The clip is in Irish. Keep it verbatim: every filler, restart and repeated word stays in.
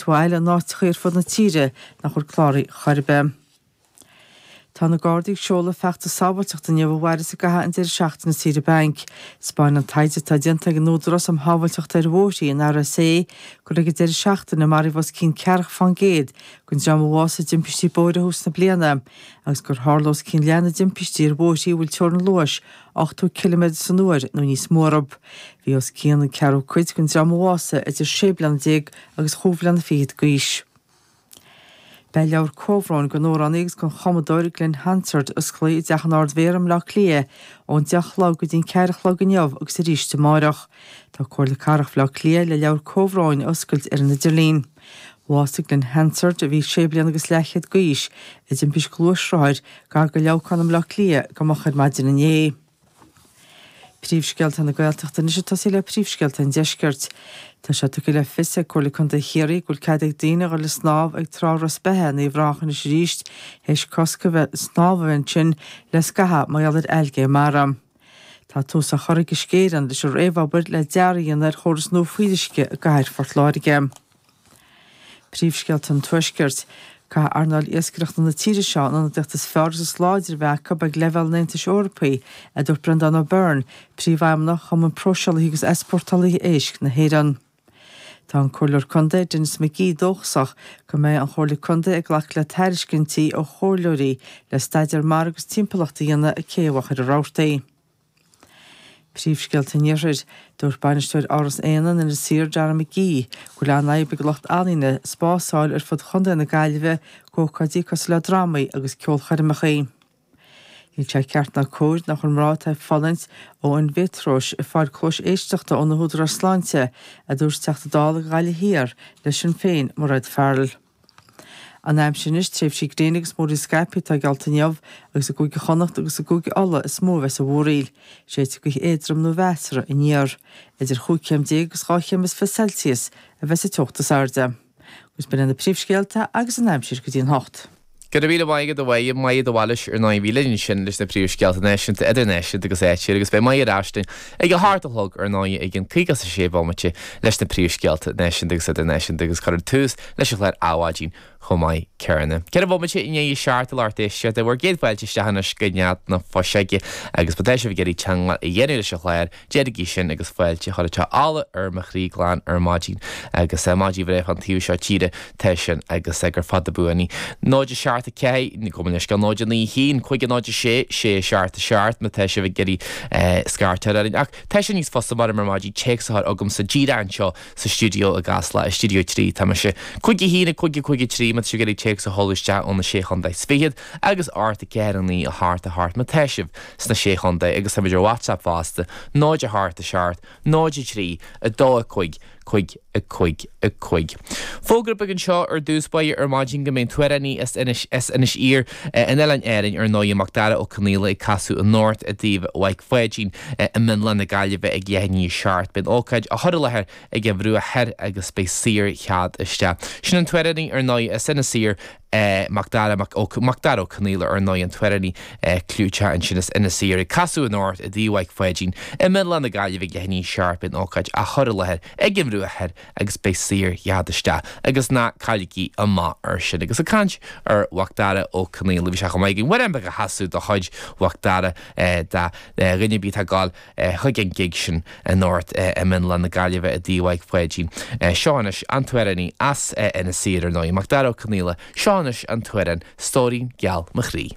mhaith eile in áiteacha ar fud na tíre nach bhfuil cláraithe chor ar bith. Tá na Gardaí ag seoladh feachtas sábháilteachta inniu a mhairfeas i gcaitheamh an deireadh seachtaine saoire bainc. Taispeánann an taighde atá déanta ag an Údarás um Shábháilteacht ar Bhóithre, an RSA, gur ag an deireadh seachtaine a maraíodh os cionn ceathracha fán gcéad den dream a bhásaigh i dtimpistí bóithre thús na bliana agus gur tharla os cionn leath na dtimpistí ar bhóithre a bhfuil teorainn luais ochtó ciliméadar san uair nó níos mó orthu. Bhí os cionn an ceathrú cuid den dream a bhásaigh idir sé bliana déag agus chúig bhliana fichead d'aois. Beidh leabhar comhbhróin den amhránaí agus den chumadóir Glen Hansard osclaithe i dTeach an Ard-Mhéara i mBleá Cliath ón deich a chlog go dtí an ceathair a chlog inniu agus arís amárach. Tá Comhairle Cathrach Bhaile Átha Cliath le leabhar comhbhróin a oscailt ar an idirlíon. Bhásaigh Glen Hansard, a bhí sé bliana agus leathchéad d'aois, i dtimpist gluaisrothair gar do Leamhcán i mBleá Cliath go moch ar maidin inné. Príomhscéalta na Gaeltachta anois ag tosaí le príomhscéalta an Deiscirt. Tá sé tugtha le fios ag Comhairle Contae Chiarraí go bhfuil cead ag daoine a dhul ag snámh ag Trá Ros Beithe in Uíbh Ráthach anois arís théis cosc a bheith snámh a bheith ansin le scaitheamh mar gheall ar ailgé mara. Tá tús á chur ag Uisce Éireann leis an réamhobair le dearadh a dhéanamh ar chóras nua fuíolluisce i gcathair Phort Láirge. Príomhscéalta an Tuaiscirt. Caithfidh earnáil iascaireachta na tíre seo an ionadaíocht is fearr agus is láidre a bheith acu ag leibhéal an Aontais Eorpaigh, a dúirt Breandán Ó Beirn, Príomhfheidhmeannach Chumann Próiseálaithe agus Easpórtálaithe Éisc na hÉireann. Tá an Comhairleoir Contae Denis McGee dóchasach go mbeidh an Chomhairle Contae ag glacadh le tairiscintí ó chomhairleoirí le staidéar mara agus timpeallachta a dhéanamh ag Cé Mhachaire Rabhartaigh. Príomhscéalta an Iarthair. Dúirt bainisteoir Áras Éanna in Inis Oírr, Dara McGee, go bhfuil an-fhadhb ag lucht ealaíne spás a fháil ar fud chontae na Gaillimhe d'ócáidí cosúil le drámaí agus ceolchoirmeacha. Níl sé ceart ná cóir nach bhfuil mná atá ag fulaingt ó eindiméatrióis ag fáil cluais éisteachta ó na húdaráis sláinte, a dúirt Teachta Dála do Ghaillimh Thiar le Sinn Féin, Mairéad Farrell. An aimsir anois, tréimhsí gréine agus múraíl scaipthe atá geallta inniu agus i gCúige Chonnacht agus i gCúige Uladh is mó a bheas an mhúraíl. Séidfidh gaoth éadrom nó mheasartha aniar. Idir chúig chéim déag agus dhá chéim is fiche Celsius a bheas an teocht is airde. Agus b'in iad na príomhscéalta agus an aimsir go dtí an hocht. Go raibh míle maith agat a Mháire, Máire de Bhailís ar ndóigh a bhí linn ansin leis na príomhscéalta náisiúnta, idirnáisiúnta agus áitiúil agus beidh Máire ar ais linn ag a hocht a chlog ar ndóigh i gcionn caoga is a sé bomaite leis na príomhscéalta náisiúnta agus idirnáisiúnta agus cuirfear tús leis an chlár Adhmhaidin chomh maith céanna. Ceithre bhomaite i ndiaidh a seacht a lucht éisteachta bhur gcéad fáilte isteach anois go Nead na Fuiseoige agus má tá sibh ag iarraidh teagmháil a dhéanamh leis an chlár, déanaigí sin agus fáilte a chur anseo ola ar mo chroí glan ar maidin agus maidin bhreá fán taobh seo tíre tá sin agus gur fada buan í. Náid a seacht a ceathair, gabh mo leithscéal, náid a naoi a haon, cúig a náid a sé, sé a seacht a seacht má tá sibh ag iarraidh scairteadh orainn. Ach tá sé níos fusa mar ar maidin téacs a chur chugamsa díreach anseo sa stiúideo i gCasla, i stiúideo trí tá mise. Cúig a haon, a cúig a cúig a trí má tá sibh ag iarraidh téacs a sheoladh isteach ó na Sé Chontae is Fichead agus ocht a ceathair a naoi a hocht a hocht má tá sibh sna Sé Chontae agus táimid ar WhatsApp fosta, náid a hocht a seacht, náid a trí, a dó a cúig, cúig a cúig a cúig. Fógra beag anseo ar dtús báire ar maidin go mbeidh an t-amhránaí as Inis as Inis Oírr in Oileáin Árainn ar ndóigh Macdara Ó Conaola ag casadh anocht i dTigh Mhaidhc Pháidín i Mionlach na Gaillimhe ag leath i ndiaidh a seacht. Beidh an ócáid á chur i láthair ag an Bhruach Thoir agus beidh saorchead isteach. Sin an t-amhránaí ar ndóigh as Inis Oírr Macdara Mac Ó Macdara Ó Conaola ar ndóigh an t-amhránaí clúiteach ansin as Inis Oírr ag casadh anocht i dTigh Mhaidhc Pháidín i Mionlach na Gaillimhe ag leath i ndiaidh a seacht. Beidh an ócáid á chur i láthair ag an Bhruach Thoir agus beidh saorchead isteach agus ná cailligí amach ar sin. Agus ag caint ar Mhacdara Ó Conaola bhí sé chomh maith againn amhrán beag a chasadh de chuid Mhacdara do dhuine ar bith atá ag gabháil chuig an gig sin anocht i Mionlach na Gaillimhe i dTigh Mhaidhc Pháidín. Seo anois an t-amhránaí as Inis Oírr ar ndóigh, Macdara Ó Conaola, seo anois an t-amhrán Stóirín Geal Mo Chroí.